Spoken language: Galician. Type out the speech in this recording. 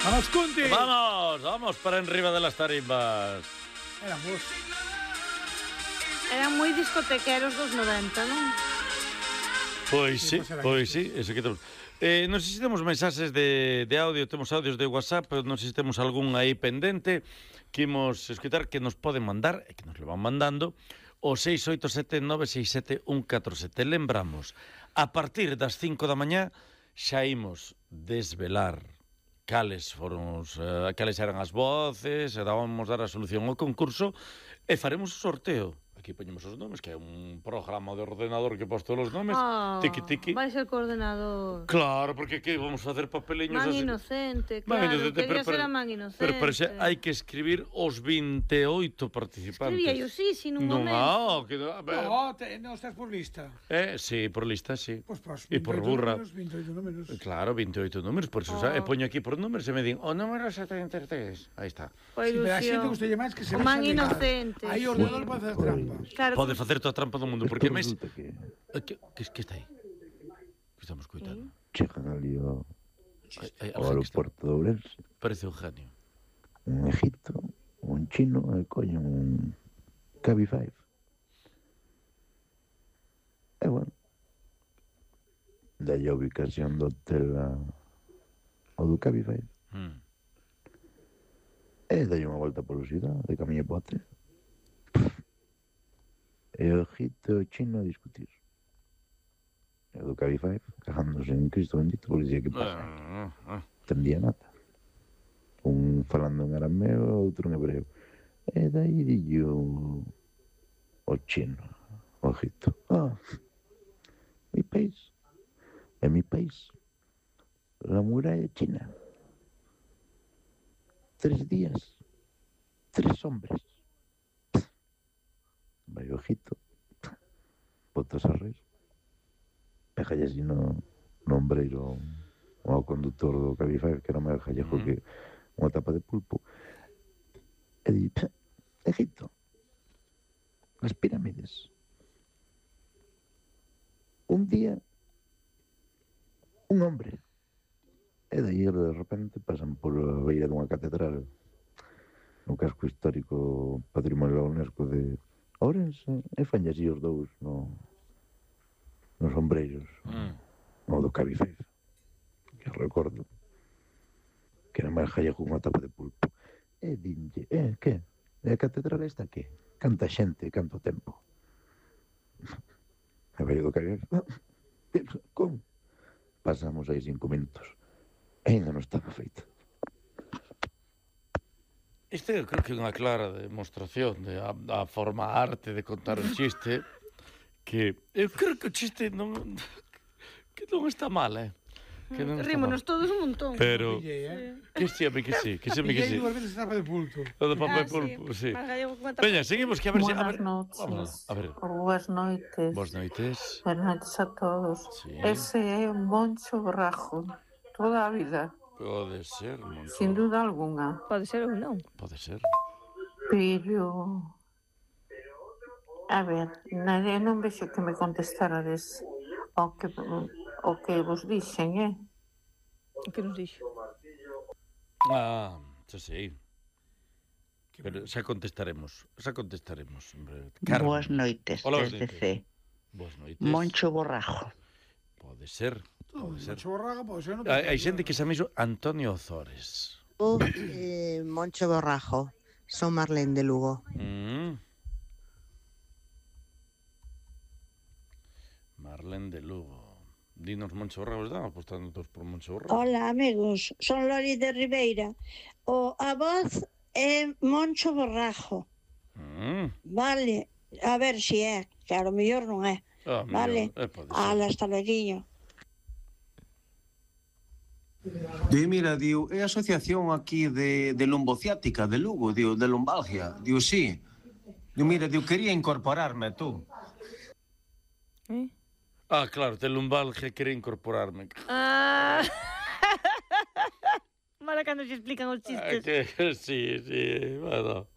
Vamos, Cunti! Vamos para enriba de las tarimbas. Eran moi discotequeros dos 90, non? Pois sí, eso que temos. Non sei se temos mensaxes de audio, temos audios de WhatsApp, pero non sei se temos algún aí pendente que imos escutar, que nos poden mandar, e que nos le van mandando, o 687-967-147. Lembramos, a partir das 5 da mañá xa imos desvelar cales eran as voces, e vamos dar a solución ao concurso, e faremos o sorteo. Aquí poñemos os nomes, que é un programa de ordenador que pos todos os nomes. Tiki. Vai ser coordenador. Claro, porque que vamos facer papeliños Man así. Inocente, claro. Quería ser a Man Inocente. Pero xa hai que escribir os 28 participantes. Escribía yo sí, nun momento. Non, Non estás por lista. Sí, por lista, sí. Pois, E por burra. 28 números. Claro, 28 números, por eso poño aquí por números e me din, o número 73. Aí está. Sí, pero a xente gustalle máis que se o Man Inocente. Aí o ordenador pode facer trampa. Claro, Pode facer toda a trampa do mundo, porque máis... Que está aí? Que estamos coitando? Chegan ali ao aeroporto de Ourense. Parece un genio. Un egipto, un chino, e coñen un Cabify. E bueno, dalle a ubicación do hotel ao do Cabify. E dalle unha volta pola cidade, de camiño para o hotel. E o egipto e o chino a discutir. E o do Cabify, cagándose en Cristo bendito, porque dicía que pasa. Entendía nada. Un falando en arameo, outro en hebreo. E dai dillo o chino, o egipto. Mi país. É mi país. La muralla china. 3 días. 3 hombres. Vai o ojito, botas a reír, pejalle así no ombreiro ao conductor do Cabify, que era máis gallejo que unha tapa de pulpo, e di, Egipto, as pirámides, un día, un hombre, e daí de repente pasan por a beira dunha catedral, no casco histórico patrimonio da UNESCO de Ourense, e fanlle así os dous nos ombreiros no do Cabify, que recordo que era máis gallego unha tapa de pulpo, e dinlle, que? E a catedral esta que? Canta xente, canto tempo? E vai do Cabify, como? Pasamos aí 5 minutos e ainda non estaba feito. Isto eu creo que é unha clara demostración da forma arte de contar un chiste, que eu creo que o chiste non está mal, Rímonos todos un montón. Pero que sí. Pillei 2 veces a tapa de pulpo. O de papel pulpo, sí. Veña, seguimos, que a ver se... Buenas noches. A ver. Boas noites. Boas noites. Buenas noites a todos. Sí. Ese é un Moncho Borrajo. Toda a vida. Pode ser, Moncho. Sin duda alguna. Pode ser ou non. Pode ser. Pero... A ver, nadie non vexo que me contestarades o que vos dixen, O que nos dixo? Xa sei. Pero xa contestaremos. Hombre. Boas noites, Hola, desde C. Boas noites. Moncho Borrajo. Pode ser. Moncho Borrajo, pode ser. Hai xente que se chama Antonio Ozores. Moncho Borrajo. Son Marlene de Lugo. Marlene de Lugo. Dinos Moncho Borrajo, estamos apostando todos por Moncho Borrajo. Hola, amigos, son Loli de Ribeira. A voz é Moncho Borrajo. Vale, a ver se é, que a lo mellor non é. Vale, hasta loguinho. Mira, diu, é a asociación aquí de lumbociática de Lugo, diu, de lumbalgia. Diu, sí. Diu, mira, diu, quería incorporarme, tú. Claro, de lumbalgia quería incorporarme. Mala cando se explican os chistes. Sí, bueno.